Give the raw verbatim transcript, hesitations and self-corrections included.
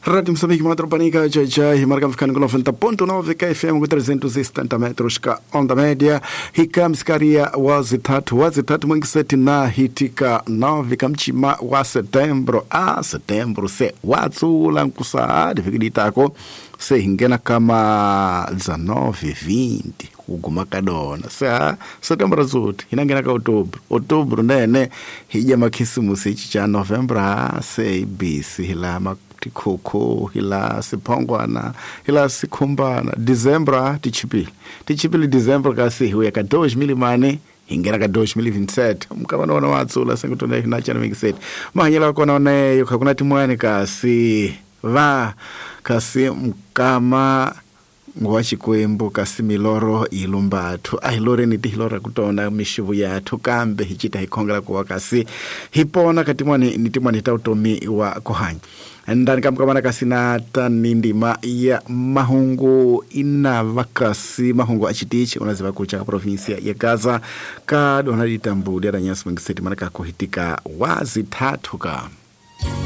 Rádio Moçambique, Matropanica, J J, marcamos ficando com noventa ponto nove K F M com trezentos e setenta metros ka onda média. Hikamsikaria wazitatu, wazitatu mwengiseti na hitika nove kamchima wa setembro. Ah, setembro se watsula nkusaadi fikiditako se hingena kama dezenove, vinte kuguma kadona. Se ah, setembro zuti hinangena ka outubro. Outubro nene hija makhisimusi ichi cha novembro ah, se ibisi hilama tikhokho hila siphongwana hila sikhumbana December tichipile tichipile December kasi hiwe ka dois mil mane hingena ka dois mil vinte e sete mukavana wana watsula sengutona hina chana mingiseti mahanyela kona oneyo khakuna timwani kasi va kasi mkama ngwa xikwembu kasi milorho yi lumbathu a hi loreni ti hi lorha ku tona mixivu yathu kambe hi cita hi khongela kuwa kasi hi pona ka tin'wani ni tin'wani ta vutomi wa ku hanya ndani ka mkamana kasi na tani ndima ya mahungu inava kasi mahungu a xitichi unaziva kucha ka provinsia ya Gaza ka dona ditambuli ya nyasi mangiseti mana ka kuhitika wazi tatu ka.